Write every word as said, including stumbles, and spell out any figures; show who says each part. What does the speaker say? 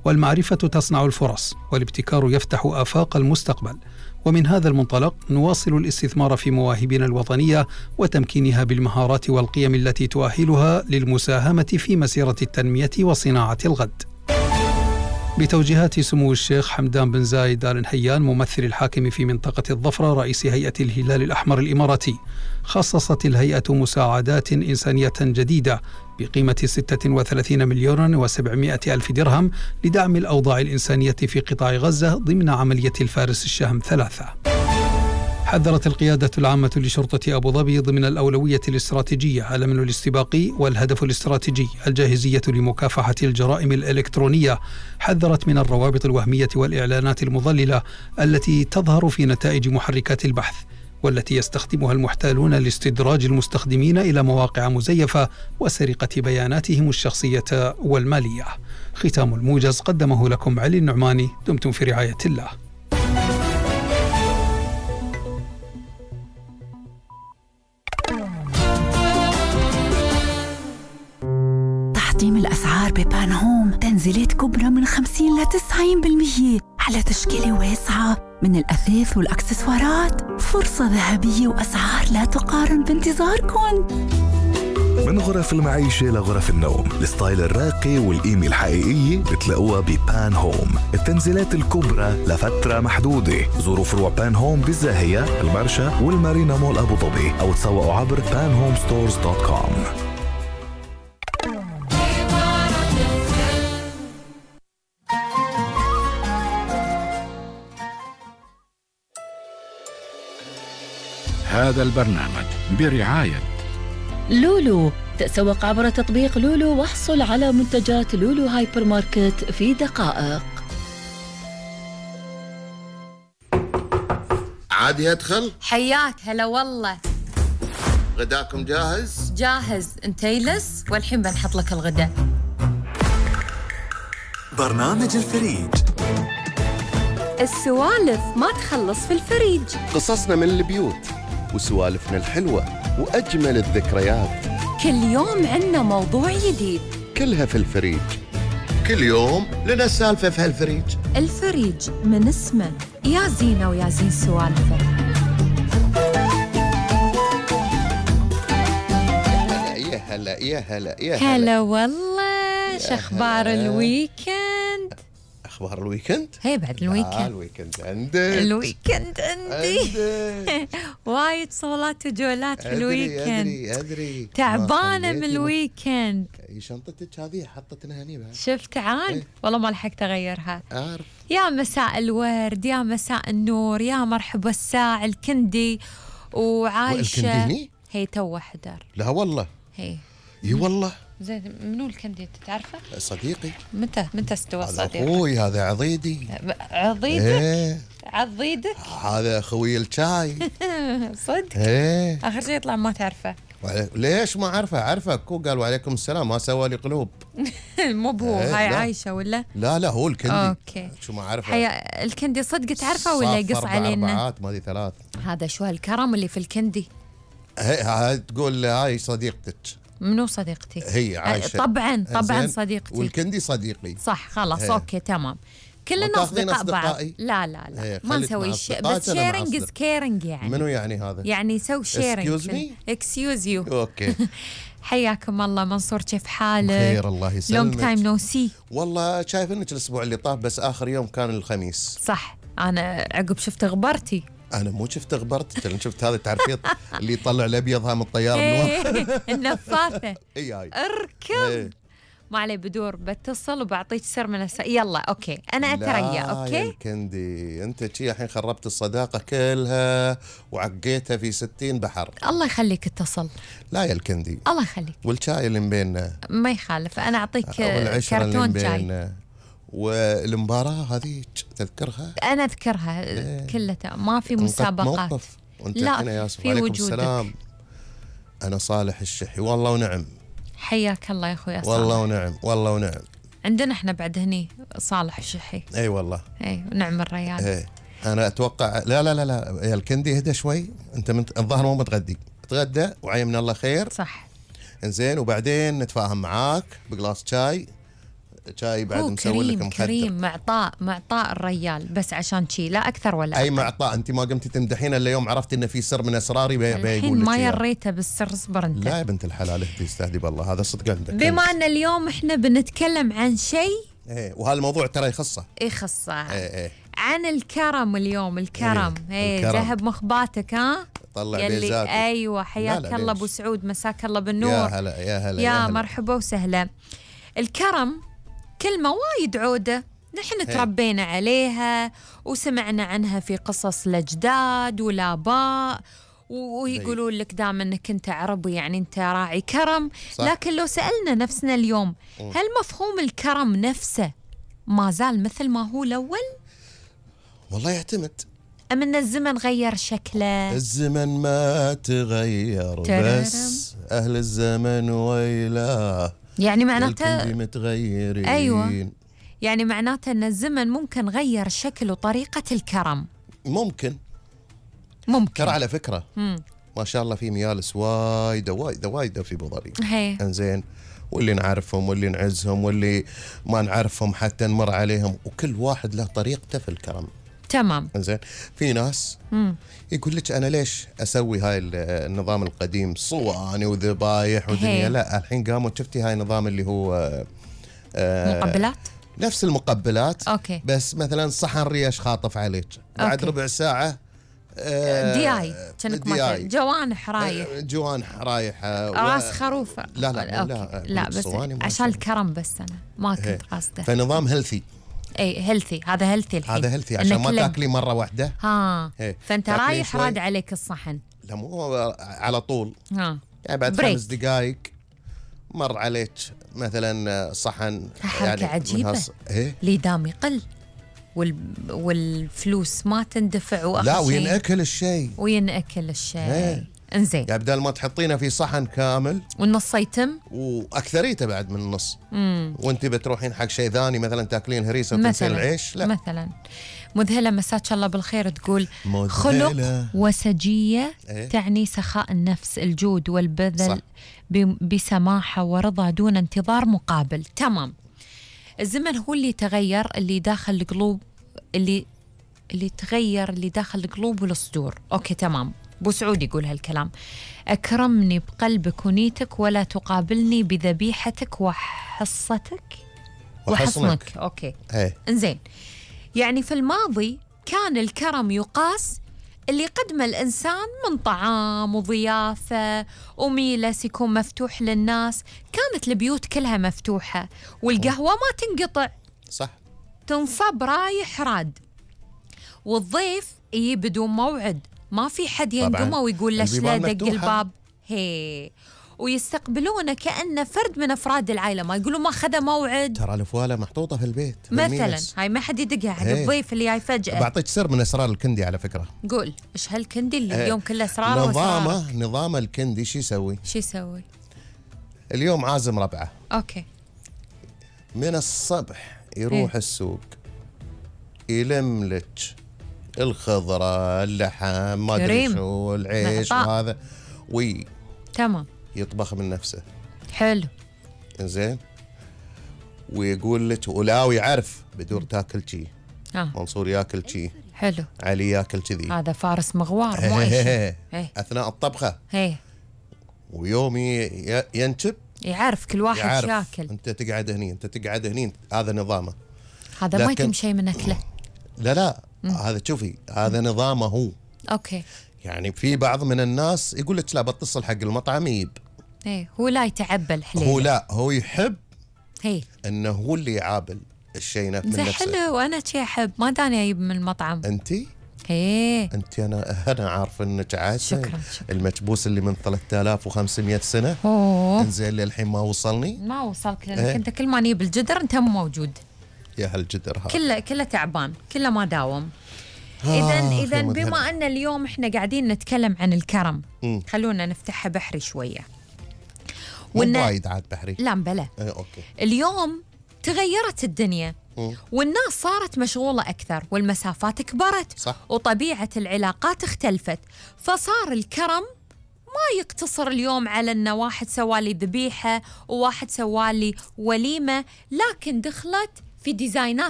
Speaker 1: والمعرفة تصنع الفرص، والابتكار يفتح آفاق المستقبل. ومن هذا المنطلق نواصل الاستثمار في مواهبنا الوطنية وتمكينها بالمهارات والقيم التي تؤهلها للمساهمة في مسيرة التنمية وصناعة الغد. بتوجيهات سمو الشيخ حمدان بن زايد آل نهيان ممثل الحاكم في منطقة الظفرة رئيس هيئة الهلال الأحمر الإماراتي، خصصت الهيئة مساعدات إنسانية جديدة بقيمة ستة وثلاثين مليون وسبعمائة ألف درهم لدعم الأوضاع الإنسانية في قطاع غزة ضمن عملية الفارس الشهم ثلاثة. حذرت القيادة العامة لشرطة أبو ظبي ضمن الأولوية الاستراتيجية الأمن الاستباقي والهدف الاستراتيجي الجاهزية لمكافحة الجرائم الإلكترونية. حذرت من الروابط الوهمية والإعلانات المضللة التي تظهر في نتائج محركات البحث، والتي يستخدمها المحتالون لاستدراج المستخدمين إلى مواقع مزيفة وسرقة بياناتهم الشخصية والمالية. ختام الموجز قدمه لكم علي النعماني. دمتم في رعاية الله.
Speaker 2: تحطيم الأسعار ببان هوم، تنزيلات كبرى من خمسين إلى تسعين بالمئة على تشكيلة واسعة من الأثاث والأكسسوارات. فرصة ذهبية وأسعار لا تقارن بانتظاركم.
Speaker 3: من غرف المعيشة لغرف النوم، الستايل الراقي والقيمة الحقيقية بتلاقوها ببان هوم. التنزيلات الكبرى لفترة محدودة. زوروا فروع بان هوم بالزاهية، المرشا والمارينا مول أبو ظبي، أو تسوقوا عبر بان هوم ستورز دوت كوم.
Speaker 4: هذا البرنامج برعاية
Speaker 5: لولو. تسوق عبر تطبيق لولو واحصل على منتجات لولو هايبر ماركت في دقائق.
Speaker 6: عادي أدخل؟
Speaker 7: حياك هلا والله.
Speaker 6: غداكم جاهز؟
Speaker 7: جاهز. انت يلس والحين بنحط لك الغداء.
Speaker 8: برنامج الفريج.
Speaker 7: السوالف ما تخلص في الفريج.
Speaker 6: قصصنا من البيوت وسوالفنا الحلوة وأجمل الذكريات.
Speaker 7: كل يوم عنا موضوع جديد،
Speaker 6: كلها في الفريج. كل يوم لنا سالفة في هالفريج.
Speaker 7: الفريج من اسمه يا زينة ويا زين سوالفه.
Speaker 6: يا هلا يا هلا يا هلا
Speaker 7: هلا والله. شخبار الويكند؟
Speaker 6: أخبار الويكند؟
Speaker 7: هي بعد الويكند.
Speaker 6: آه الويكند عندك.
Speaker 7: الويكند عندي. وايد صولات وجولات في الويكند.
Speaker 6: أدري أدري
Speaker 7: تعبانة من الويكند.
Speaker 6: شنطتك هذه حطتنا هني بعد.
Speaker 7: شفت عاد؟
Speaker 6: ايه؟
Speaker 7: والله ما لحقت أغيرها.
Speaker 6: أعرف.
Speaker 7: يا مساء الورد، يا مساء النور، يا مرحبا الساعة الكندي وعايشة.
Speaker 6: الكندي
Speaker 7: هي تو حدر.
Speaker 6: لا والله.
Speaker 7: هي.
Speaker 6: اي والله.
Speaker 7: زين منو الكندي تعرفه؟
Speaker 6: صديقي.
Speaker 7: متى متى استوى صديقي؟
Speaker 6: اخوي هذا عضيدي.
Speaker 7: عضيدك؟
Speaker 6: ايه.
Speaker 7: عضيدك؟
Speaker 6: هذا اخوي الشاي.
Speaker 7: صدق؟
Speaker 6: ايه.
Speaker 7: اخر شيء يطلع ما تعرفه.
Speaker 6: ليش ما اعرفه؟ عارفه اكو قال وعليكم السلام ما سوى لي قلوب.
Speaker 7: مو بهو.
Speaker 6: ايه
Speaker 7: هاي
Speaker 6: لا.
Speaker 7: عايشه ولا؟
Speaker 6: لا لا هو الكندي.
Speaker 7: اوكي.
Speaker 6: شو ما عارفه.
Speaker 7: هي الكندي صدق تعرفه ولا يقص علينا؟
Speaker 6: ما دي ثلاث.
Speaker 7: هذا شو هالكرم اللي في الكندي؟
Speaker 6: هي تقول هاي صديقتك.
Speaker 7: منو صديقتي؟
Speaker 6: هي عايشة.
Speaker 7: طبعا طبعا صديقتي.
Speaker 6: والكندي صديقي.
Speaker 7: صح خلاص.
Speaker 6: هي.
Speaker 7: اوكي تمام. كلنا اصدقاء بعض. لا لا لا ما نسوي شيء بس شيرنج از كيرنج. يعني
Speaker 6: منو يعني هذا؟
Speaker 7: يعني سوي شيرنج.
Speaker 6: اكسكيوز مي.
Speaker 7: اكسكيوز يو.
Speaker 6: اوكي.
Speaker 7: حياكم الله منصور، كيف حالك؟
Speaker 6: خير الله يسلمك.
Speaker 7: لونج تايم نو سي.
Speaker 6: والله شايف انك الاسبوع اللي طاف بس اخر يوم كان الخميس.
Speaker 7: صح. انا عقب شفت غبرتي.
Speaker 6: انا مو شفت غبرت، انا شفت هذا التعرفيط اللي يطلع الابيض ها من الطياره من
Speaker 7: النفاثه.
Speaker 6: اي هاي
Speaker 7: اركب. ما عليه بدور بتصل وبعطيك سر من الس... يلا اوكي انا اتريا. اوكي
Speaker 6: يا الكندي انت شي الحين خربت الصداقه كلها وعقيتها في ستين بحر.
Speaker 7: الله يخليك اتصل.
Speaker 6: لا يا الكندي
Speaker 7: الله يخليك.
Speaker 6: والشاي اللي بيننا
Speaker 7: ما يخالف انا اعطيك
Speaker 6: كرتون
Speaker 7: شاي.
Speaker 6: والمباراه هذه تذكرها؟
Speaker 7: انا اذكرها. ايه. كلها ما في مسابقات.
Speaker 6: موقف. وانت
Speaker 7: لا
Speaker 6: هنا
Speaker 7: في وجودك.
Speaker 6: السلام. انا صالح الشحي والله ونعم.
Speaker 7: حياك الله يا اخوي صالح.
Speaker 6: والله ونعم والله ونعم.
Speaker 7: عندنا احنا بعد هني صالح الشحي.
Speaker 6: اي والله.
Speaker 7: اي ونعم الريال.
Speaker 6: اي انا اتوقع لا لا لا لا يا الكندي اهدى شوي. انت من الظاهر مو متغدي. تغدى وعي من الله خير.
Speaker 7: صح.
Speaker 6: انزين وبعدين نتفاهم معاك بقلاص شاي شاي بعد
Speaker 7: هو
Speaker 6: مسوي لك
Speaker 7: كريم
Speaker 6: مخدر.
Speaker 7: كريم معطاء معطاء الرجال بس عشان شي لا أكثر ولا
Speaker 6: اي
Speaker 7: أقل.
Speaker 6: معطاء. انت ما قمتي تمدحين الا يوم عرفتي انه في سر من اسراري بي
Speaker 7: الحين
Speaker 6: بيقول لك
Speaker 7: ما
Speaker 6: إياه.
Speaker 7: يريته بالسر، اصبر انت.
Speaker 6: لا يا بنت الحلال اهدي استهدي بالله، هذا صدق عندك.
Speaker 7: بما ان اليوم احنا بنتكلم عن شيء
Speaker 6: ايه وهذا الموضوع ترى يخصه.
Speaker 7: يخصه.
Speaker 6: ايه ايه
Speaker 7: عن الكرم اليوم. الكرم
Speaker 6: إيه،
Speaker 7: ايه
Speaker 6: الكرم.
Speaker 7: ذهب مخباتك ها.
Speaker 6: طلع
Speaker 7: يلي
Speaker 6: بيزاتك.
Speaker 7: ايوه
Speaker 6: لا
Speaker 7: حياك
Speaker 6: لا
Speaker 7: الله
Speaker 6: ليش؟
Speaker 7: ابو سعود، مساك الله بالنور.
Speaker 6: يا هلا يا هلا
Speaker 7: يا,
Speaker 6: يا هلا.
Speaker 7: مرحبا وسهلا. الكرم كلمة وايد عودة، نحن تربينا عليها وسمعنا عنها في قصص الأجداد والآباء، ويقولون لك دام انك انت عربي يعني انت راعي كرم.
Speaker 6: صح.
Speaker 7: لكن لو سألنا نفسنا اليوم هل مفهوم الكرم نفسه ما زال مثل ما هو الأول؟
Speaker 6: والله يعتمد.
Speaker 7: أم أن الزمن غير شكله؟
Speaker 6: الزمن ما تغير
Speaker 7: تررم.
Speaker 6: بس أهل الزمن ويلاه
Speaker 7: يعني معناته
Speaker 6: الكل متغيرين.
Speaker 7: أيوة. يعني معناته أن الزمن ممكن غير شكل وطريقة الكرم.
Speaker 6: ممكن
Speaker 7: ممكن
Speaker 6: ترى على فكرة
Speaker 7: مم.
Speaker 6: ما شاء الله في ميالس وايدة وايدة وايدة في بوظري.
Speaker 7: هي
Speaker 6: انزين، واللي نعرفهم واللي نعزهم واللي ما نعرفهم حتى نمر عليهم، وكل واحد له طريقته في الكرم.
Speaker 7: تمام.
Speaker 6: انزين، في ناس
Speaker 7: مم.
Speaker 6: يقول لك انا ليش اسوي هاي النظام القديم صواني وذبايح ودنيا.
Speaker 7: هي.
Speaker 6: لا الحين قاموا شفتي هاي النظام اللي هو آه
Speaker 7: مقبلات.
Speaker 6: نفس المقبلات
Speaker 7: أوكي.
Speaker 6: بس مثلا صحن ريش خاطف عليك بعد
Speaker 7: أوكي.
Speaker 6: ربع ساعة آه
Speaker 7: دي اي كأنك
Speaker 6: دي
Speaker 7: مثلا
Speaker 6: آي.
Speaker 7: جوانح رايح،
Speaker 6: آه، جوانح رايحة و-
Speaker 7: راس خروف.
Speaker 6: لا لا لا,
Speaker 7: أوكي. لا بس
Speaker 6: الصواني ما
Speaker 7: عشان
Speaker 6: أسوي.
Speaker 7: الكرم بس انا ما
Speaker 6: هي.
Speaker 7: كنت قاصده.
Speaker 6: فنظام هيلثي.
Speaker 7: اي هيلثي، هذا هيلثي الحين.
Speaker 6: هذا هيلثي عشان
Speaker 7: إنك
Speaker 6: ما
Speaker 7: لم-
Speaker 6: تاكلي مرة واحدة.
Speaker 7: ها
Speaker 6: هي.
Speaker 7: فانت
Speaker 6: تاكلين
Speaker 7: رايح
Speaker 6: شوي.
Speaker 7: راد عليك الصحن.
Speaker 6: لا مو على طول،
Speaker 7: ها
Speaker 6: يعني بعد
Speaker 7: بريك.
Speaker 6: خمس دقائق مر عليك مثلا صحن.
Speaker 7: حركة
Speaker 6: يعني
Speaker 7: عجيبة.
Speaker 6: من هالص- ايه
Speaker 7: لي دام يقل وال... والفلوس ما تندفع واخر
Speaker 6: لا
Speaker 7: شيء
Speaker 6: وينأكل الشيء.
Speaker 7: وينأكل الشيء.
Speaker 6: إيه.
Speaker 7: انزين
Speaker 6: يعني بدل ما تحطينه في صحن كامل
Speaker 7: والنص يتم
Speaker 6: واكثريته بعد من النص،
Speaker 7: مم.
Speaker 6: وانت بتروحين حق شيء ثاني مثلا تاكلين هريسه وتنسين
Speaker 7: مثلا
Speaker 6: العيش. لا
Speaker 7: مثلا مذهلة مساك الله بالخير تقول
Speaker 6: مذهلة.
Speaker 7: خلق وسجية
Speaker 6: إيه؟
Speaker 7: تعني سخاء النفس، الجود والبذل
Speaker 6: صح.
Speaker 7: ب- بسماحة ورضا دون انتظار مقابل. تمام. الزمن هو اللي تغير، اللي داخل القلوب، اللي اللي تغير اللي داخل القلوب والصدور. اوكي تمام. ابو سعود يقول هالكلام. اكرمني بقلبك ونيتك ولا تقابلني بذبيحتك وحصتك وحصنك. اوكي
Speaker 6: ايه
Speaker 7: انزين، يعني في الماضي كان الكرم يقاس اللي قدمه الإنسان من طعام وضيافة وميلس يكون مفتوح للناس. كانت البيوت كلها مفتوحة والقهوة ما تنقطع،
Speaker 6: صح.
Speaker 7: تنصب رايح راد، والضيف يجي بدون موعد، ما في حد ينقمه ويقول ليش لا
Speaker 6: البيبان
Speaker 7: دق
Speaker 6: مفتوحة.
Speaker 7: الباب. هي ويستقبلونه كأنه فرد من أفراد العائلة، ما يقولوا ما خذ موعد.
Speaker 6: ترى الفواله محطوطه في البيت
Speaker 7: مثلا
Speaker 6: بالميلس.
Speaker 7: هاي ما حد يدقها حق
Speaker 6: هي.
Speaker 7: الضيف اللي جاي فجأة.
Speaker 6: بعطيك سر من اسرار الكندي على فكره.
Speaker 7: قول ايش هالكندي اللي
Speaker 6: إيه.
Speaker 7: اليوم كله اسرار واسرار.
Speaker 6: نظامه نظام الكندي شو يسوي؟
Speaker 7: شو يسوي؟
Speaker 6: اليوم عازم ربعه
Speaker 7: اوكي
Speaker 6: من الصبح يروح
Speaker 7: إيه.
Speaker 6: السوق يلم لك الخضره اللحم ما ادري
Speaker 7: كريم.
Speaker 6: شو العيش
Speaker 7: معطاء.
Speaker 6: وهذا
Speaker 7: تمام
Speaker 6: ويطبخ من نفسه.
Speaker 7: حلو.
Speaker 6: زين، ويقول لك ولا ويعرف بدور تاكل شي،
Speaker 7: اه
Speaker 6: منصور ياكل شي،
Speaker 7: حلو.
Speaker 6: علي ياكل كذي.
Speaker 7: هذا فارس مغوار مو اي شيء.
Speaker 6: إيه.
Speaker 7: إيه.
Speaker 6: اثناء الطبخه.
Speaker 7: ايه
Speaker 6: ويوم ي- ينشب
Speaker 7: يعرف كل واحد
Speaker 6: يعرف
Speaker 7: ياكل.
Speaker 6: انت تقعد هني انت تقعد هني، هذا نظامه.
Speaker 7: هذا ما
Speaker 6: لكن-
Speaker 7: يتم شيء من اكله.
Speaker 6: لا لا هذا شوفي هذا نظامه هو.
Speaker 7: اوكي
Speaker 6: يعني في بعض من الناس يقول لك لا بتصل حق المطعم يجيب.
Speaker 7: ايه هو لا يتعبى الحليل.
Speaker 6: هو لا هو يحب
Speaker 7: هي
Speaker 6: انه هو اللي يعابل الشيء نف- من
Speaker 7: زين
Speaker 6: نفسه.
Speaker 7: حلو. وانا شي احب ما داني اجيب من المطعم.
Speaker 6: انت
Speaker 7: ايه
Speaker 6: انت انا انا عارف انك عايشه.
Speaker 7: شكراً، شكراً.
Speaker 6: المكبوس اللي من ثلاثة آلاف وخمسمية سنه
Speaker 7: اوه
Speaker 6: انزين للحين ما وصلني.
Speaker 7: ما وصلك لانك
Speaker 6: إيه.
Speaker 7: انت كل ما نجيب الجدر انت مو موجود.
Speaker 6: يا هالجدر هذا.
Speaker 7: كله كله تعبان، كله ما داوم.
Speaker 6: آه،
Speaker 7: اذا
Speaker 6: يا
Speaker 7: اذا
Speaker 6: مذهل.
Speaker 7: بما ان اليوم احنا قاعدين نتكلم عن الكرم،
Speaker 6: مم.
Speaker 7: خلونا نفتحها بحري شويه.
Speaker 6: مو
Speaker 7: وإن-
Speaker 6: وايد عاد بحري.
Speaker 7: لا بلا
Speaker 6: ايه اوكي.
Speaker 7: اليوم تغيرت الدنيا
Speaker 6: مم.
Speaker 7: والناس صارت مشغولة أكثر والمسافات كبرت
Speaker 6: صح.
Speaker 7: وطبيعة العلاقات اختلفت، فصار الكرم ما يقتصر اليوم على أن واحد سوالي ذبيحة وواحد سوالي وليمة، لكن دخلت في ديزاينات